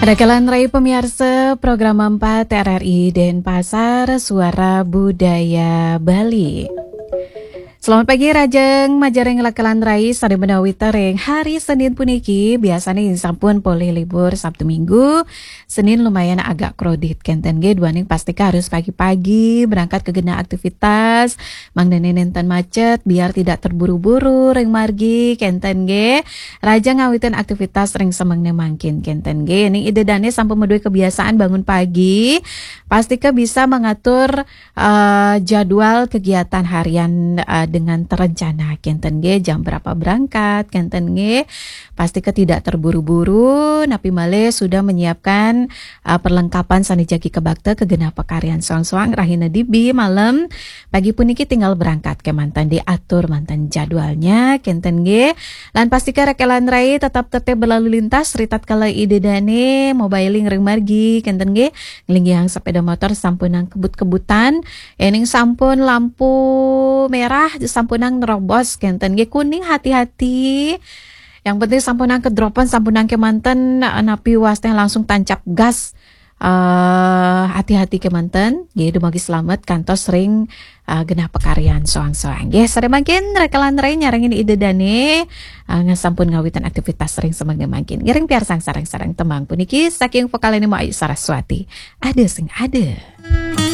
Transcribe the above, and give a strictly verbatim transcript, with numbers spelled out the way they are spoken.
Rakalan rai pamiarsa, program empat R R I Denpasar, Suara Budaya Bali. Selamat pagi, Rajeng Majareng Rakalan Rai, sada menawi tereng hari Senin puniki, biasanya sampun polih libur Sabtu Minggu, Senin lumayan agak krodit, kenten nggih, duaning pastika harus pagi-pagi berangkat ke genah aktivitas, mangdane nenten macet, biar tidak terburu-buru ring margi, kenten nggih. Raja ngawitin aktivitas ring semengnya mangkin, kenten nggih. Ning Ida Dane sampun meduwe kebiasaan bangun pagi, pastika bisa mengatur eh, jadwal kegiatan harian eh, dengan terencana, kenten nggih, jam berapa berangkat, kenten nggih. Pastika tidak terburu-buru, napi malih sudah menyiapkan eh, perlengkapan sane jagi kebakta ke genah pakaryan soang-soang, rahina dibi, malem, pagi puniki tinggal berangkat kemanten, diatur manten jadwalnya, kenten nggih. Lan pastika Rakalan Rai tetap tertib berlalu lintas, ritatkala Ida Dane mobiling ring margi, kenten nggih. Nglinggihang sepeda motor sampunang kebut-kebutan, ening sampun lampu merah sampunang nerobos, kenten nggih, kuning hati-hati. Yang penting sampunang kedropan, sampunang kemanten, napi wasteh langsung tancap gas. Eh, hati-hati kemanten, nggih, dumugi selamet kantos ring eh, genah pakaryan soang-soang. Nggih, sare mangkin Rakalan Rai nyarengin Ida Dane eh, ngasampun ngawitin aktivitas ring semengnya mangkin. Ngiring piarsang sareng-sareng tembang puniki saking vokalane Mbok Ayu Saraswati. Ada sing ada.